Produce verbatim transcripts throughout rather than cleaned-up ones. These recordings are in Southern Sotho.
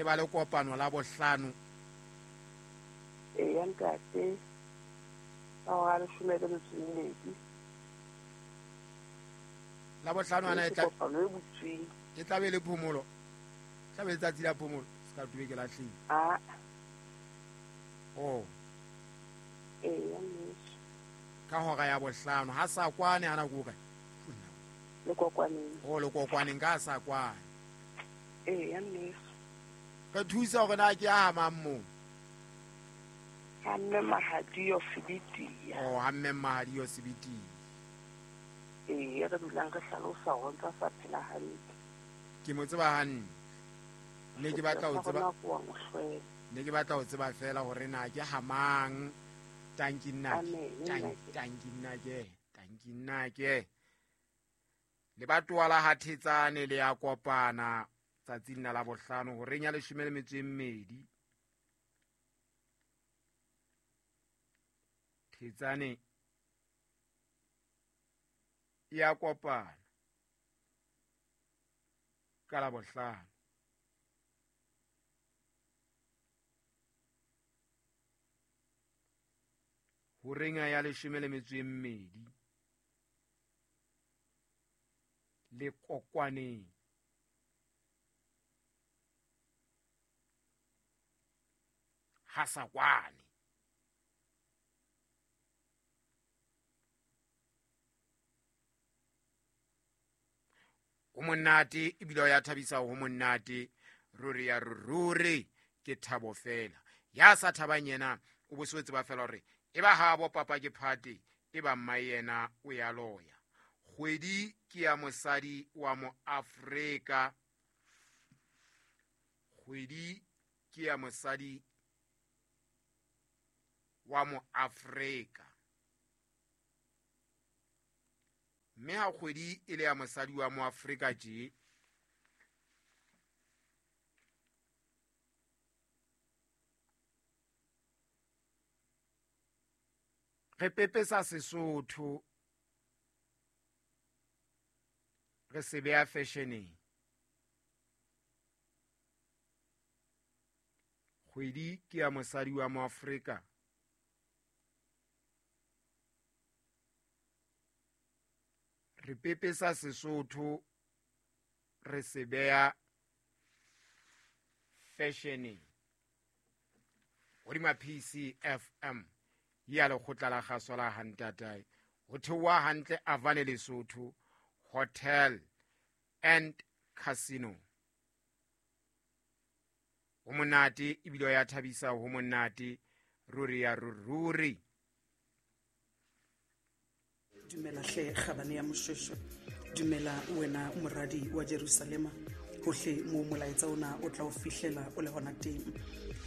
Le ba le kopano la bohlano. Eya ntate. Ka hora leshome le metso e mmedi. La bohlano ana e tla kopano e butsweng. E tla be le phomolo. Tla be letsatsi la phomolo, se ka tube ke lahlile. Ah. Oh. Eya mmeso. Ka hora ya bohlano ha sa kwane ana go kae? Le kokwaneng. Oh, le kokwaneng ka sa kwane. Eya mmeso. Re thusa hore na ke a mang mo? Ha mme Mahadio Sebitia. Oh, ha mme Mahadio Sebitia. Ee, re dulang re hlalosa hore ntse sa phela hantle. Ke mo tseba hantle. Ne ke batla ho tseba. Ne ke batla ho tseba fela hore na ke hamang. Tanki nna. Tanki nna ke. Tanki nna ke. Le batoa la Hathetsane le ya kopana tsatsing la bohlano horeng ya leshome le metso e mmedi. Thetsane ya kopana ka la bohlano. Horeng ya leshome le metso e mmedi le kokwaneng. Ha sa kwane. O monate ebile o ya thabisa ho monate ruri ya ruri ke thabo fela. Ya sa thabang yena o bo se tseba fela hore e ba ha bo papa ke phate e ba mma yena o ya loya. Kgwedi ke ya mosadi wa mo Afrika. Kgwedi ke ya mosadi wa mo Afrika. Mme ha kgwedi e le ya mosadi wa mo Afrika tje, re pepesa Sesotho re se beha fashioneng. Kgwedi ke ya mosadi wa mo Afrika. Re pepesa Sesotho re se beha fashioneng. Hodima P C F M ya lekgotla la kgaso la Hantatae ho theoha hantle Avane Lesotho Hotel and Casino. Ho monate ebile ya thabisa ho monate ruri ya ruri. Dumela hle kgabane ya Moshweshwe, dumela wena moradi wa Jerusalema, hohle mo molaetsa ona o tla o fihlela o le hona teng.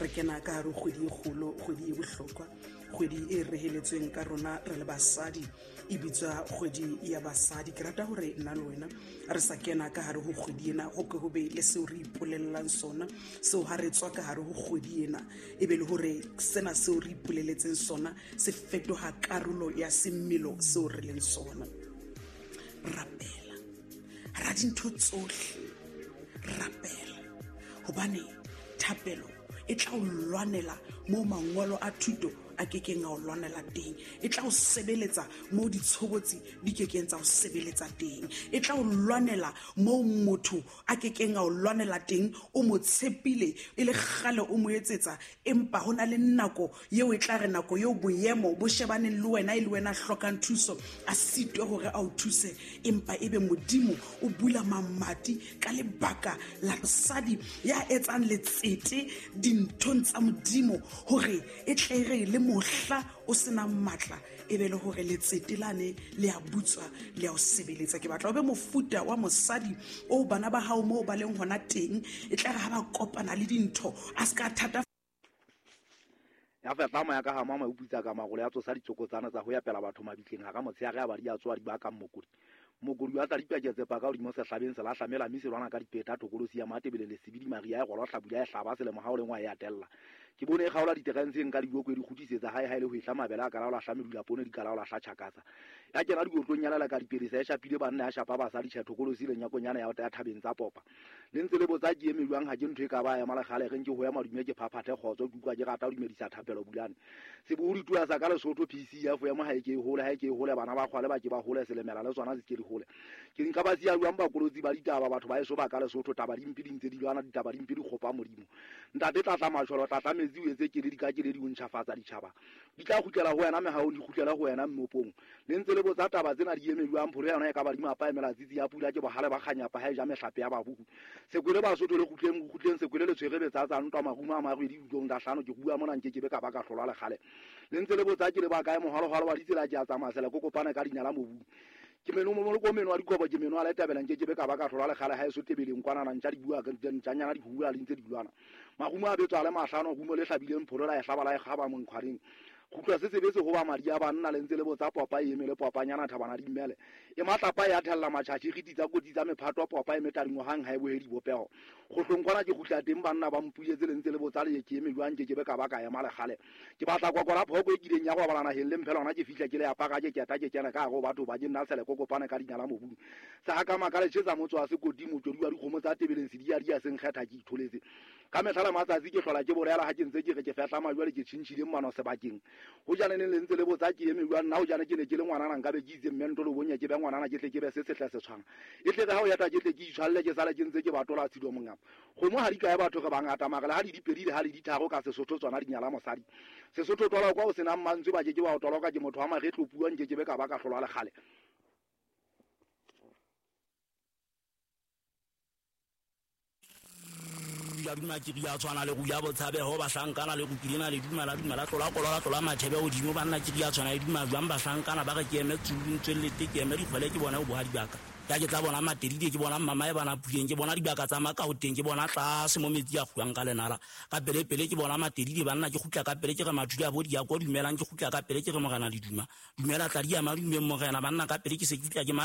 Re kena ka hare kgwedi e kgolo, kgwedi e bohlokwa, kgwedi e reheletsweng ka rona re le basadi, e bitswa kgwedi ya basadi. Ke rata hore nna le wena re sa kena ka hare ho kgwedi ena, ho ke ho be le seo re ipolellang sona, seo ha re tswa ka hare ho kgwedi ena e be le hore sena seo re ipoleletseng sona se fetoha karolo ya semmelo seo re leng sona. Rapela ra dintho tsohle, rapela hobane thapelo e tla o lwanela mo mangolo a thuto a kekeng a o lwanela teng, e tla o sebeletsa mo ditshobotsi di kekeng tsa o sebeletsa teng, e tla o lwanela mo motho a kekeng a o lwanela teng. O mo tshepile e le kgale o mo etsetsa, empa ho na le nako eo e tla re nako eo boemo bo shebaneng le wena e le wena hlokang thuso, a sitwe hore a o thuse, empa ebe Modimo o bula mamati ka lebaka la mosadi ya etsang letsete dinthong tsa Modimo, hore e tle re le mohla o senang matla e be le hore letsete lane le a butswa le a o sebeletsa. Ke batla o be mofuta wa mosadi o bana ba hao moo ba leng hona teng, e tla re ha ba kopana le dintho a se ka thata. Ya fetla moya ka ha mama o putsa ka magolo ya tsosa ditsokotsana tsa ho ya pela batho mabitleng ha ka motshehare a ba di a tswa di ba ka mokodi. Mokodi wa tla dipaketse paka hodimo sehlabeng se lahlamela mme se lwana ka dipeta tokolosi ya Matebele le Sebidi Maria ya golo hlabula ya hlaba selemo ha o lengwa ya tella. Ke bone e kgaola diterentseng ka diboko e di kgutlisetsa hae hae le ho ehla mabele a ka laola hla medula poone di ka laola hla tjhakasa. Ya kena dikotlong ya lela ka dipelesa e shapile banna ya shapa basadi tjhethokolosi le nyakonyana ya ya thabeng tsa popa. Le ntse le botsa ke eme jwang ha ke ntho e ka ba ya malekgale reng ke ho ya madume ke phaphathe kgotso ke utlwa ke rata ho dumedisa thapelo bulane. Sebohodi tua sa ka Lesotho P C F ya mo ha e ke e hole ha e ke e hole bana ba kgwale ba ke ba hole selemela le tsona se ke di hole. Ke nka ba siya jwang bakolotsi ba ditaba batho ba eso ba ka Lesotho taba di mpe di ntse di lwana ditaba di mpe di kgopa Modimo. Ntate tlatla matjholo tlatla metsi o etse keledi ka keledi o ntjhafatsa ditjhaba. Di tla kgutlela ho wena mehaong di kgutlela ho wena mmopong. Le ntse le botsa taba tsena di eme jwang pholo yona e ka ba di mapa emela tsitsi ya pula ke bohale ba kganyapa ha e ja mehlape ya babuku. Sekwele Basotho le kgutleng kgutleng sekwele le tshwere betsa tsa ntwa marumo a marwedi ditlong da hlano ke bua mona nke ke be ka ba ka hlolwa lekgale. Le ntse le botsa ke le ba kae mohalohalo wa ditsela ke a tsamaya sele kokopane ka dinyala mobung. Ke meno mo ko meno wa dikobo ke meno a le tabela nke ke be ka ba ka hlolwa lekgale ha e so tebeleng kwana na ntja di bua ka ntjanyana di hula le ntse di lwana. Marumo a betswa le mahlano rumo le hlabileng pholo la e hlaba la e kgaba monkgwareng. Kgutlwa se sebetse ho ba madi a banna le ntse le botsa popa e eme le popanyana thabana di mmele. E matlapa ya thella matjhatjhi re tsa kotsi tsa mephato popa e metadingwa hang ha e bohe dibopeho. Kgohlong kwana ke kgutla teng banna ba mpuletse le ntse le botsa le ke eme jwang ke ke be ka ba ka ema lekgale. Ke batla kwakwala phoko e kileng ya go balana naheng le mphela hona ke fihla ke le apaka ke keta ke kena ka go batho ba ke nna sele kokopane ka dinyala mobung. Sa ka makale tjhetsa motso wa sekoti motswedi wa dikgomo tsa tebeleng se di ya di ya seng kgetha ke itholetse. Ka mehla le matsatsi ke hlola ke bolela ha ke ntse ke re ke fehla majwale ke tjhintjhileng mano sebakeng. Ho jane ne le ntse le botsa ke eme jwang nna ho jane ke ne ke le ngwanana nka be ke itse mmento le bonye ke be ngwanana ke tle ke be se setle se tshwana. E tle re ha o yata ke tle ke itshwalle ke sale ke ntse ke batola tshido mongama. Kgomo ha di kae batho re bangata mara le ha di dipedi le ha le ditharo ka Sesotho tsona di nyala mosadi. Sesotho tola kwa o senang mantswe ba ke ke wa o toloka ke motho wa maretlo puang ke ke be ka ba ka hlolwa lekgale. Ya duma ke ria tshwana le ruya botshabeho bahlankana le rukilena le dumela dumela tlola kolola tlola mathebe hodimo banna ke ria tshwana le duma jwang bahlankana ba re ke eme tsulung tswellete ke eme dikgwele ke bona ho boha dibaka ya ke tla bona matedide ke bona mama e bana puleng ke bona dibaka tsa makaoteng ke bona tlase mo metsi a kguang ka lenala ka pele pele ke bona matedide banna ke kgutla ka pele ke re mathuli a bo di ya ko dumelang ke kgutla ka pele ke re morena le duma dumela tla di ya madumeng morena banna ka pele ke se ke fihla ke